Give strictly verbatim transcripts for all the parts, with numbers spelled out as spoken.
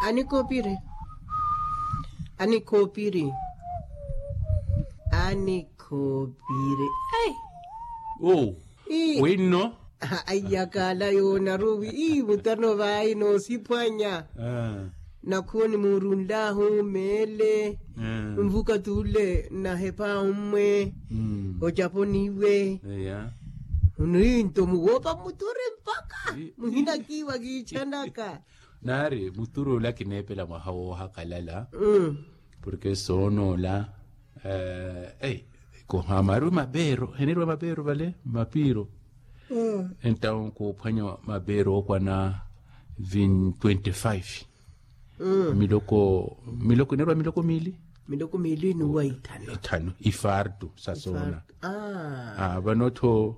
Anikhoopiri. Anikhoopiri. Anikhoopiri. Ai. Oh. Winno. Aiyakaala yoonaruwi ii mutano vaayi noosiphwanya. Nakhuwo nimuurunlahu meele. Nvuka tuule nahepha ommwe. Ocaponiwe. Unu ii nto muwoopa muturi mpakha muhina kiiwa kiichanaka. Naari muturu ola kineepela mwaha woohakalala. Porke soonoola. Kohamarwi mapeero henirwa mapeero vale mapiiro. Entawo koophwanya mapeero ookwana twenty-five. Miloko miloko inerwa miloko miili. Miloko miili nuwa ithanu. Ithanu ifartu sa soona. Vano-tho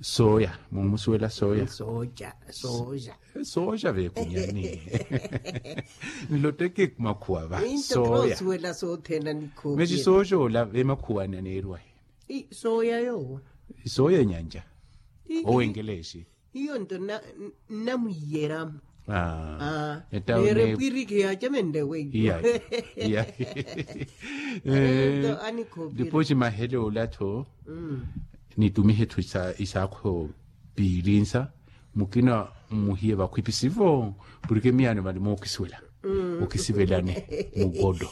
sooya mumusuwela sooya. Sooja sooja. Sooja veekunyani. Nlotteke makhuwa va sooya. Mexi sooja ola vemakhuwani aneerwa. Sooya yoowo. Sooya enyanja. Owenkeleexi. Hiyo nto nnamwiyeramo. Neerepwiriki yaacamenle weiyo. Dipoxi mahele ola-tho. Nitumihe-tho isaakho piilinsa mukina mmuhiye vakhwipi sivo. Porke miyaano vale mookisiwela okisivelani. Mugodo.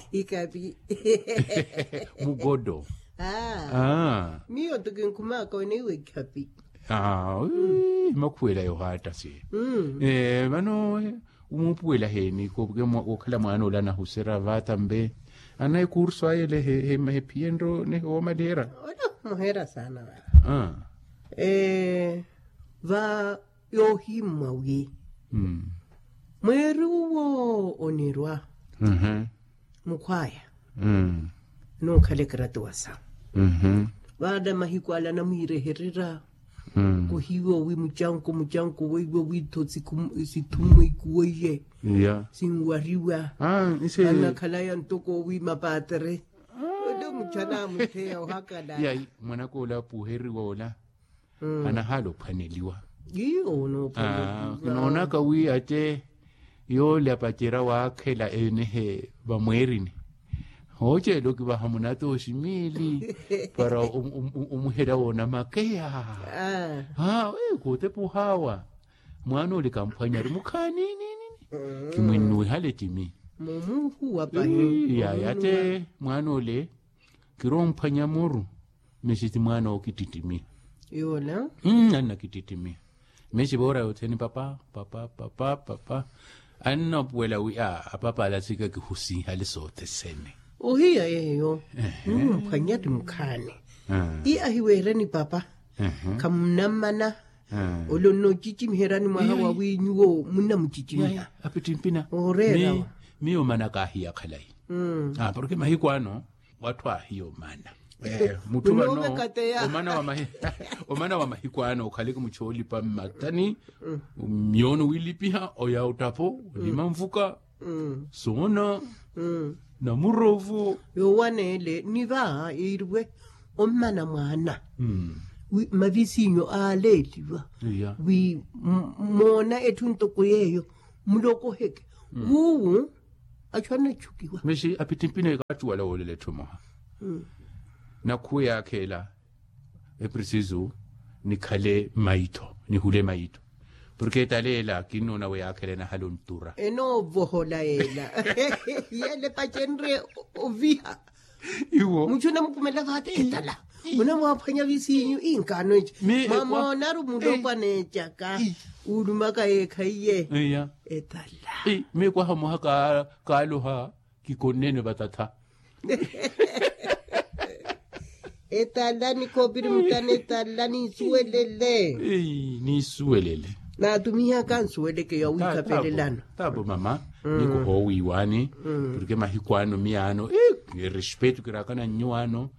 Mugodo. Miyo nto kinkhumaka oneiwa ekhapi. Makhuwela yohatta si. Vano umuupuwela heeni kookhala mwaana ole anahuserya vatambe. Anayi kursu aye ele hephiyenryo nehe woomaliherya. Ole omuherya saana vano. Va yoohimmwa wi mweeri uwo onirwa mukhwaya. Nookhala ekaratuwa sawe. Vaala mahiku ala anamwiirehererya kuhiiwa wi mucanku mucanku weiwo wiitho sithumwa ikuweiye. Sinwariwa. Anakhalaya ntoko wi mapaatere. Ole muchana amutheya ohakalala. Mwanaka ola apuheriwa ola anahaala ophwaneliwa. Kinoonaka wi atte yoole apacerya waakhela enehe vamweerini. Hooceela okivaha munata oximiili para omuherya woona makeya. Kootepa ohaawa mwaana ole kamphwanyari mukhaani. Kimwinnuwihale ettimi. Yaya atte mwaana ole kiromphwanya muru. Mexi ti mwaana owo kittittimi. Yola. Anna kittittimi. Mexi voora yothene papa papa papa papa. Annapuwela wi a apapa ala sika kihusinhale sothesene. Ohiya yeeyo. Mumphwanya ti mukhaani. Ii ahiweereni papa. Khamunammana. Ole onnoocicimiheryani mwaha wawi nyuwo munnamucicimiha. Apittimpina. Ooreera. Miyo omana kaahiya khalayi. Porke mahiku ano watthu aahiya omana. Mutthu vano omana wa mahiku ano okhaleke muchoolipa mmattani. Myoono wilipiha oya ottapho olima nvuka soona namurovo. Yoowaneele ni va yiiriwe ommana mwaana wi mavisinyo aaleeliwa wi moona etthu ntoko yeeyo mulokoheke wuwu. Achu anatchukiwa. Mexi apittimpina ekattuwala woolela etthu emoha. Nakhuwe yaakheela eprisisu nikhale maitho nihule maitho. Porke etala ela kinnoona wi yaakheela enahala ontura. Enoovohola yeela yeela epacenrye oviha. Iwo muchu onamukumela vaati etala. Onamwaaphwanya visinyu inkaano eca. Mwamoonaru mulopwana ecaka uulumaka yeekhaiye. Etala. Miyo kwaha mwaha kaaloha kikonnene vatatha. Etala nikhoopiri mutana etala ninsuwelele. Ninsuwelele. Naatumihaka nsuweleke yawiikapelelano. Tapo mama. Nikuhoowiiwaani porke mahiku ano miyaano erespetu kiraakana nnyuwaano.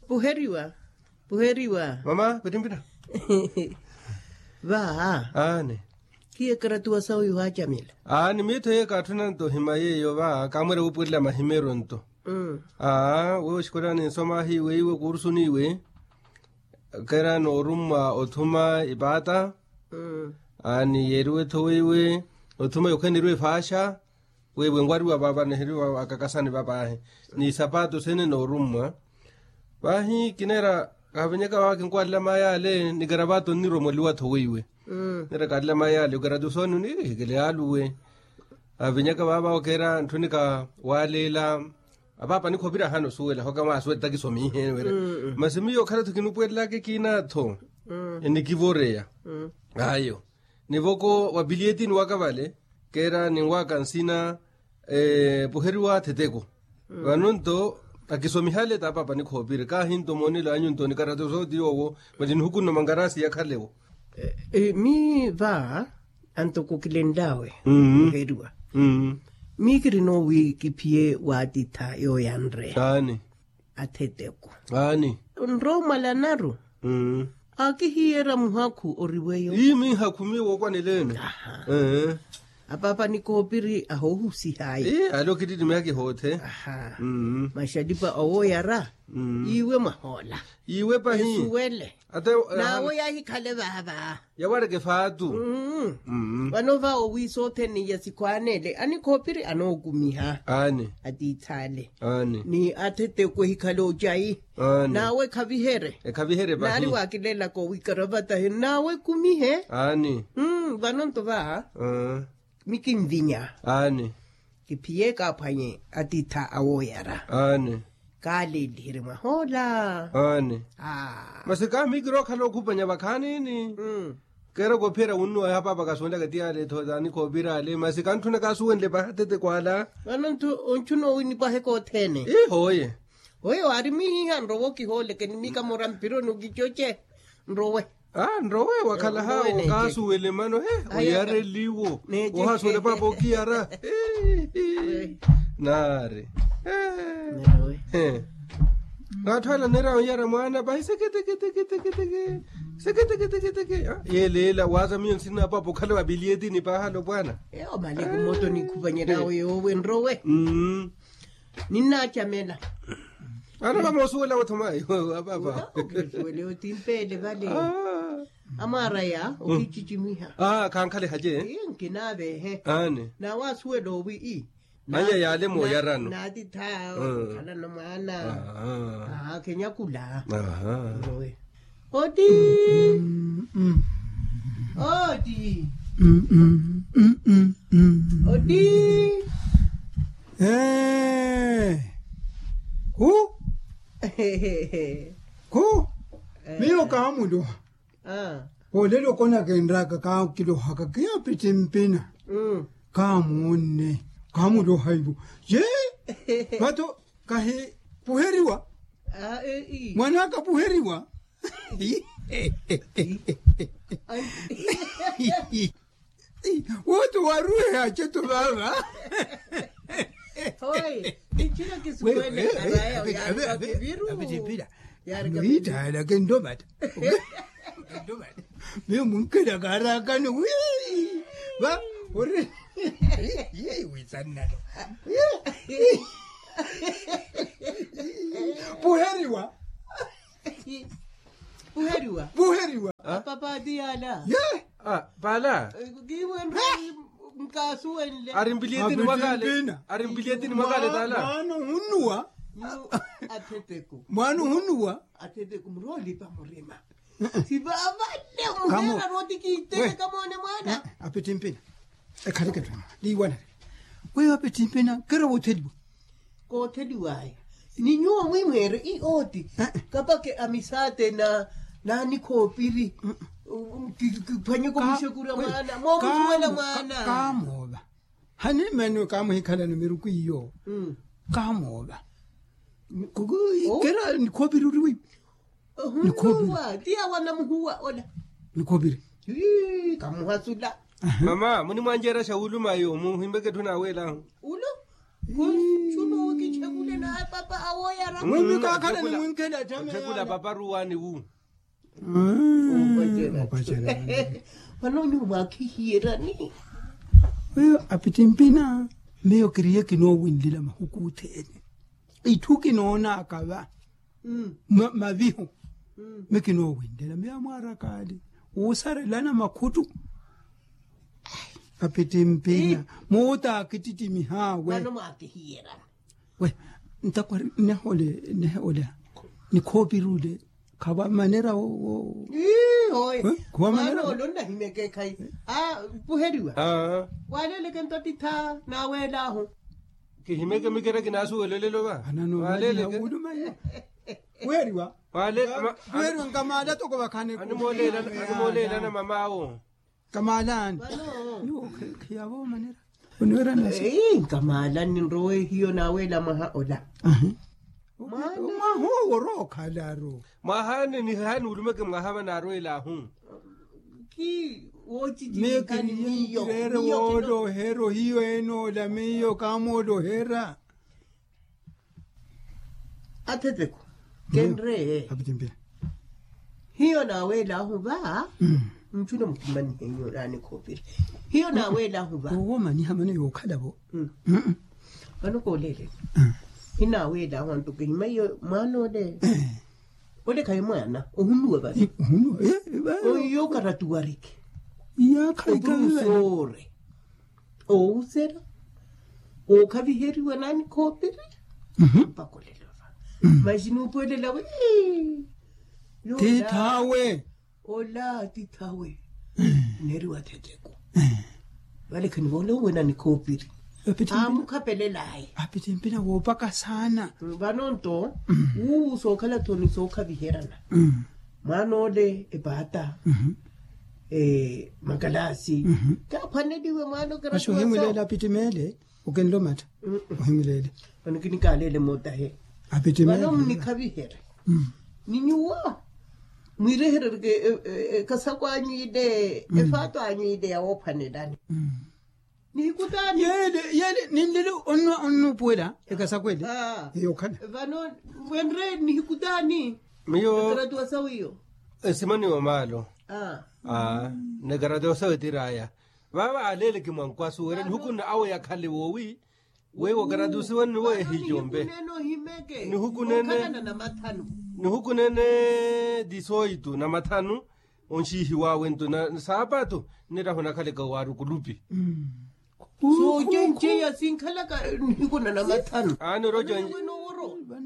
Puheriwa. Puheriwa mama. Pittimpina. Vaa. Aani. Khiye ekaratuwa sawe yohaacamela. Aani miitho yeyo kaatthuna nto ohima yeeyo vaa kaamwela wuupuwelela mahimeeryo nto. Aa wewe oxikolani nsoma ahiiwe iwe kuursuniwe. Kera noorummwa othuma ipaata. Aani yeeriwe-tho weiwe othuma yokhaneriwa efaaxa. Weiwe nwariwa paapa niheriwa akakasani papaahi ni sapaato sene noorummwa. Paahi kineera kahavenyaka vaava kinkwalila maayale ni karavaato nniromoliwa-tho weiwe. Nira kalila maayale okaratusoni onihikele yaaluwe. Avinyaka vaava okeera ntthu nika waaleela. Apaapa nikhoopira ahaana osuwela hoka mwaasuwela takisomihe wira. Masi miyo okhala-tho kinupwelelaka ekiina-tho enikivoreya. Ayo nivoko wa piliyetini waka vale keera ninwaka nsina. Puheriwa theteko. Vano nto akisomihale t'apaapa nikhoopiri kaahi nto moonelo anyu nto nikarato sooti yoowo. Mali nihukunno mangarasi yakhalewo. Mii va antoko kilenl'awe. Oheriwa. Mii kirino wi kiphiye waatitha yooyanre. Aani. Atheteko. Aani. Nroomwalanaru. Akihiyera muhakhu oriweyo. Ii miihakhu miiwo okwaneleene. Apaapa nikoopiri ahoohusihayi. Ii ale okittittimiha kihoothe. Maxalipa awoyara. Iwe mwahoola. Iwe pahi. Esuwele. Naawe yahikhale vaava. Yawareke faatu. Vano va owi sothene ya sikhwaanele anikhoopiri anookumiha. Aani. Atiithale. Aani. Ni atheteko ehikhale ocayi. Aani. Naawe ekhavihere. Ekhavihere pahi. Naari waakilelaka owi karavatahe naawe ekumihe. Aani. Vano nto va mikinvinya. Aani. Kiphiye kaaphwanye atiitha awoyara. Aani. Kaaleeliherye mwahoola. Aani. Masi kaamikira okhala okhupanya vakhaanini. Keera koophiyerya wunnuwa yaha paapa kasuwenlaka ti yaale-tho taani koopira ale masi kantthuna kaasuwenle paha tete kwaala. Vano ntthuna owinipwahe kothene. Iho oye. Oyo aari mihiha nrowe okihooleke ni mikamora mpironi okicoce. Nrowe. Nrowe wakhalaha okaasuwele mano he. Oyareliwo. Ohasuwele paapa okiyara. Naari. Naatthu ala nira oyara mwaana pahi seketeketeketeke. Seketeketeketeke. Yeeleela waaza miyo nsina paapa okhala wa piliyetini paahalo pwaana. Omale kumoto nikhupanyeryawe yoowe nrowe. Ninnaacamela. Ana vamoosuwela othoma iwe apaapa. Okiisuwele otimpeele vale. Amwaaraya okicicimiha. Khankhale hace. Nkinaavehe. Aani. Nawe asuwela owi i aya yaale mooyarano. Naatitha okhalano mwaana. Kenyakula. Oti. Oti. Oti. Khu. Khu. Miyo kaamuloha. Olelo konakenraka kaakilohaka kiya pittimpina. Kaamuunne. Kaamuloha ivo. Ye. Vato kahi puheriwa. Mwan'aka puheriwa. Woto waruwehe aceto vaava. Hoye icina kisuwene araya yaarika viru. Apitipila. Yaarika viru. Nohitaalaka endomata. Endomata. Miyo munkela kaarakani wi. Va ori. Ye witsannano. Puheriwa. Puheriwa. Puheriwa. Apapa ati yaala. Ye. Paala. Kiiwe nkaasuwenle. Ari mpiliyetini mwakale. Ari mpiliyetini mwakale taala. Mwaana ohunnuwa. Atheteko mwaana ohunnuwa. Atheteko muroolipa murima. Sivavale muheera rooti kiitele kamoone mwaana. Apittimpina. Ekhaleke tthu liiwanale. Weyo apittimpina kero wootheliwa. Kootheliwaya. Ni nyuwo mwimweere i ooti. Kapake amisaate na nanikhoopiri. Kiphwanyeke omuxekura mwaana moomusuwela mwaana. Kaamoova. Hanimaniwe kaamuhikhalani miruku iyo. Kaamoova. Kera nikhoopiri ori wiiwe. Ohunuwa ti awa namuhuwa ola. Nikhoopiri. Kamuhasula. Mama munimwanjeera xa wuluma yo muhimbeke etthu naaweelahu. Ulo. Khunchuno kichekule na apapa awoyara. Mwimi kakhala nimwinkela tame othekula papa ruwani wu. Vano nyuwo mwakhihiyerani. Weyo apittimpina. Miyo kiriye kinoowinlila mahuku othene. Itthu kinoonaka va mavihu. Mi kinoowinlela miyo amwaarakaali woosarelana makhuttu. Apittimpina muutaakittittimihaawe. Vano mwaakihiyerana. We ntakwari nnehe ole nnehe ole nikhoopiri ole. Khawamanera wo. Ii hoye. Mwaana ole onnahimeke ekhayi. Puheriwa. Waaleleke nto tittha naaweelahu. Kihimeke mikera kinaasuwelelelo va. Waaleleke. Puheriwa. Puheriwa nkamaala toko vakhani. Animooleelana mamaawo. Kamaalaani. Khiyavo omanera. Onwerana sa. Nkamaalaani nrowe hiyo naaweela mwaha ola. Mwaha owo orookhala aro. Mwahaani nihaani ulumeke mwaha vanaarweelahu. Ki woochichivikani miyo. Miyo kireere wooloherya ohiyo enoola miyo kaamooloherya. Atheteko kenreye. Hiyo naaweelahu va. Nchuna mutimani henyu naani khoopiri. Hiyo naaweelahu va. Owoomaniha mano yookhala vo. Vano kooleelele. Hinaaweelahu antu kihimaiyo mwaana ole. Ole khayi mwaana ohunuwa vale. Ohiyo karatuwareke. Oturusoore. Owusera. Okhaviheriwa naani khoopiri. Mpaka olelova. Maxi nuupuwelela wi. Tiithaawe. Ola tiithaawe. Neeriwa thetheku. Vale khanivoole owenani khoopiri. Amukhapelelaye. Apittimpina woopaka saana. Vano nto wuuwu sookhala-tho ni sookhaviherana. Mwaana ole epaata. Makalaasi. Kaaphwaneliwe mwaana okerekiwa so. Masi ohimwileele apittimeele. Okinlomatta. Ohimwileele. Vano kinikaalele mootahe. Vano munikhavihere. Ni nyuwo mwireherereke ekasakwanyu ile efaato anyu ile yawoophwanelani. Nihikutaani. Yeele yeele ninlele onnupuwela ekasakwa ele. Eyo okhala. Vano wenre nihikutaani. Miyo ekaratuwa sawe iyo. Esimaniwa maalo. Nekaratuwa sawe tiraya. Vaava aleeleke mwankwasu wira nihukunna awe yakhale woowi. Weiwo karatusiwa nnuwo ehijombe. Nihukunene. Nihukunene disoitu na mathanu. Onxiihiwawe nto na saapatu. Nirahu nakhaleka waari okulupi. Soocenceya sinkhalaka nihiku na namathanu. Aani oroca.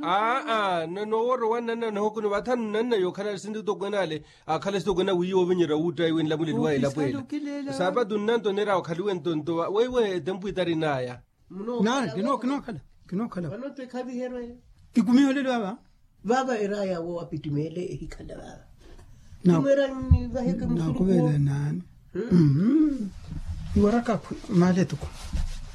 Aa nooworo wannanna nahukuni vathanu nanna yookhala sinti tokwenale. Akhala sitokwenale wiiya ovinyerya wuuttayi winlamuleliwa elapweela. Saapatu nnanto nira okhaliwe ntonto weiwe etempu itarinaya. Nani kinookhala. Kinookhala. Kikumiholeliwa va. Vaava eraya wo apittimeele ehikhala vaava. Naakuvela naani. Iwaraka akhwi maali etuku.